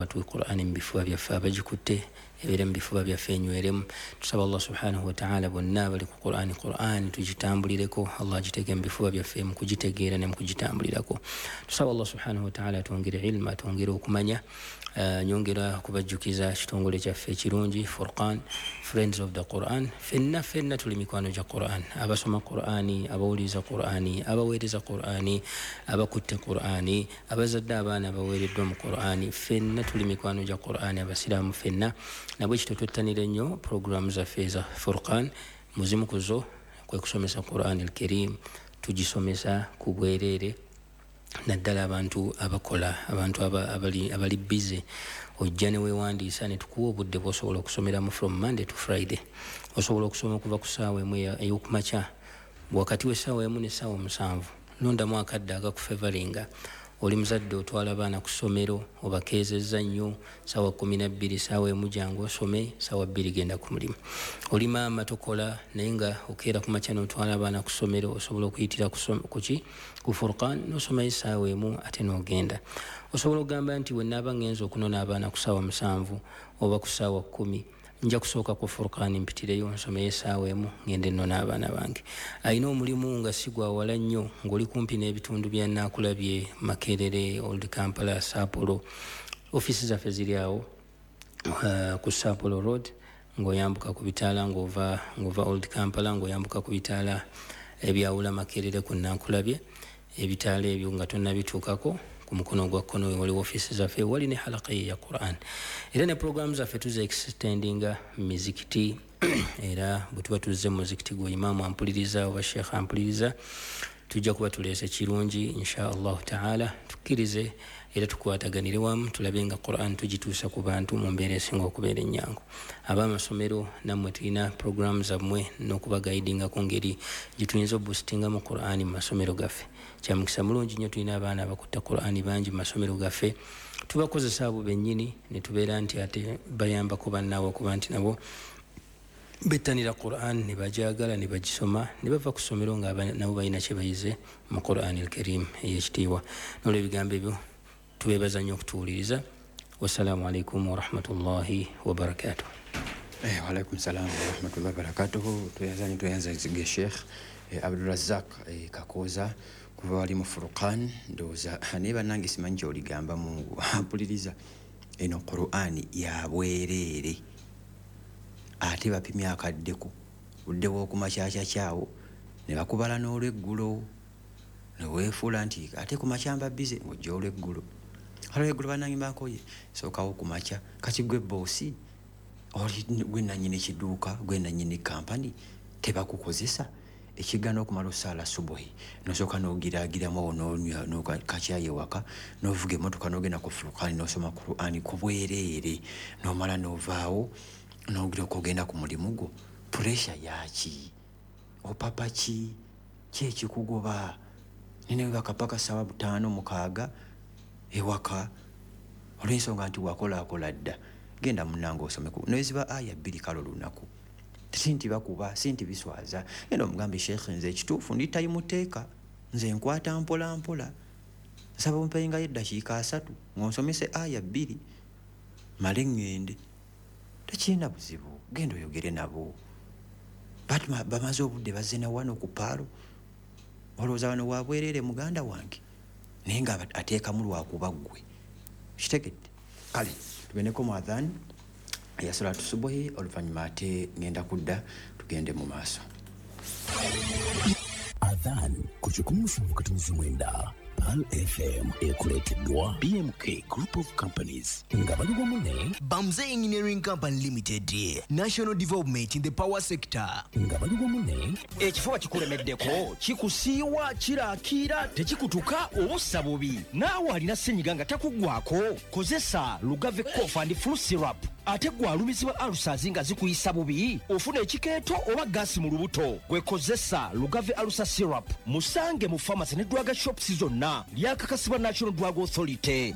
Batuwe Qur'ani mu bifuba byaffe, abagikutte ebeere mu bifuba byaffe, enyweremu. Tusaba Allah subhanahu wataala, bonna abali ku Qur'ani, Qur'ani tugitambulireko, Allah agiteeke mu bifuba byaffe mu kugitegeera ne mu kugitambulirako. Tusaba Allah subhanahu wataala atwongere ilmu, atwongere okumanya. Nyongera okubajjukiza kitongole kyaffe ekirungi, Furqan, Friends of the Quran. Fenna fenna tuli mikwano gya Quran, abasoma Qurani, abawuliriza Qurani, abaweereza Qurani, abakutte Qurani, abazadde abaana abaweereddwa mu Qurani. Fenna tuli mikwano gya Qurani, abasiraamu fenna. Nabwe kityo twettanire nnyo programu zaffe eza Furqan. Muzimu kuzo kwe kusomesa Quran Alkarim. Tugisomesa ku bwereere, naddala abantu abakola, abantu abali busy. Ojja ne weewandiisa ne tukuwa obudde bwosobola okusomeramu from Monday to Friday. Osobola okusoma okuva ku ssaawa 1 ey'okumakya, wakati w'essaawa 1 n'essaawa 7. Londamu akadde akakufevalinga. Oli muzadde, otwala abaana ku ssomero, obakeezezza nnyo, saawa 12, saawa 1 jangu osome, saawa 2 genda ku mulimu. Oli maama, tokola, naye nga okeera ku makya n'otwala abaana ku ssomero, osobola okuyitira kuki ku Furqan n'osomayo essaawa 1 ate n'ogenda. Osobola okugamba nti wenaaba ngenza okunona abaana ku saawa 7 oba ku saawa 10, nja kusooka ku Furqan mpitireyo nsomeyo essaawa 1, ngende nnona abaana bange. Alina omulimu nga si gwa wala nnyo, ng'oli kumpi n'ebitundu bya Naakulabye, Makerere, Old Kampala, Sapporo, ofiisi zaffe ziri awo ku Sapporo Road, ng'oyambuka ku bitaala ng'ova Old Kampala, ng'oyambuka ku bitaala ebyawula Makerere ku Nankulabye. Ebitaala ebyo nga tonnabituukako, ku mukono gwa kkono waliwo ofiisi zaffe, wali ne halaka ye ya Quran. Era ne programu zaffe tuza extendinga mizikiti. Era bwe tuba tuzze mu muzikiti gwe, imaamu ampuliriza oba sheekh ampuliriza, tujja kuba tuleese kirungi insha Allahu taala. Tukkirize era tukwataganire wamu, tulabe nga Quran tugituusa ku bantu mu mbeera esinga okubeera ennyangu. Ab'amasomero nammwe tulina programu zammwe n'okubagaidinga ku ngeri gye tuyinza obusitingamu Qurani mu masomero gaffe. Kyamukisa mulungi nnyo, tulina abaana abakutta Qurani bangi mu masomero gaffe. Tubakozesa abo bennyini ne tubeera nti ate bayambako bannaabwe okuba nti nabo bettanira Quran ne bajagala ne bagisoma ne bava ku ssomero nga nabo balina kye bayize mu Quran Alkarim ey'ekitiibwa. Nolwebigambo ebyo, tubeebaza nnyo okutuwuliriza. Wassalaamu alaikum warahmatullahi wabarakatuh. Waalaikum salam warahmatullahi wabarakatuhu. Tweyanza nyo, tweyanza zige Sheikh Abdurazak Kakooza kuva wali mu Furqan. Ndowooza naye bannange simanyi kyoligamba Mungu ampuliriza. Eno Qur'ani ya bwereere, ate bapimye akaddeko, budde bw'okumakyakya ne bakubala n'olweggulo, neweefuula nti ate ku makya mba busy, ng'ojja olweggulo. Olweggulo bannange mbankoye, sookawo ku makya. Kati gwe boss, oli gwe nannyini kiduuka, gwe nannyini kampani, tebakukozesa ekigana okumala osaala subuhi, nosooka nogiragiramu awo, nonywa kakyayi ewaka, novuga emotoka nogenda ku Furukani nosoma Qurani ku bwereere, nomala novaawo nogira okugenda ku mulimu gwo. Pressure yaki? Opapa ki? Kyekikugoba nene bakapaka sawa 5, 6 ewaka olw'ensonga nti wakolaakola dda. Genda munange osomeko neziba aya 2 kalo lunaku. Si nti bakuba, si nti biswaza. Genda omugambe, "Sheekhe, nze ekituufu ndi tayimuteeka, nze nkwata mpola mpola, nsaba ompengayo eddakiika 30 ng'onsomese aya 2, male ŋŋende." Tekirina buzibu, genda oyogere nabo. Bamaze obudde bazze na wano ku paalo, olowooza wano wabwereere muganda wange? Naye nga ateekamu lwakuba ggwe kitegedde. Kale tugendeko mu adhan ya salatu subuhi, oluvannyuma ate ngenda kudda tugende mu maaso. Adhan ku 107.9 Pearl FM ekuleeteddwa BMK Group of Companies nga bali wamu ne Bamze Engineering Company Limited, National Development in the Power Sector. Nga bali wamu ne Ekifuba kikulemeddeko, kikusiiwa, kirakiira, tekikutuka oba ossa bubi. Naawe alina senyiga nga takuggwako, kozesa Lugave Cough and Flu Syrup. Ate gwe alumizibwa ulcers nga zikuyisa bubi, ofuna ekikeeto oba gaasi mu lubuto, gwe kozesa Lugave Ulcer Syrup. Musange mu pharmacy ne drug shops zonna. Lyakakasibwa National Drug Authority.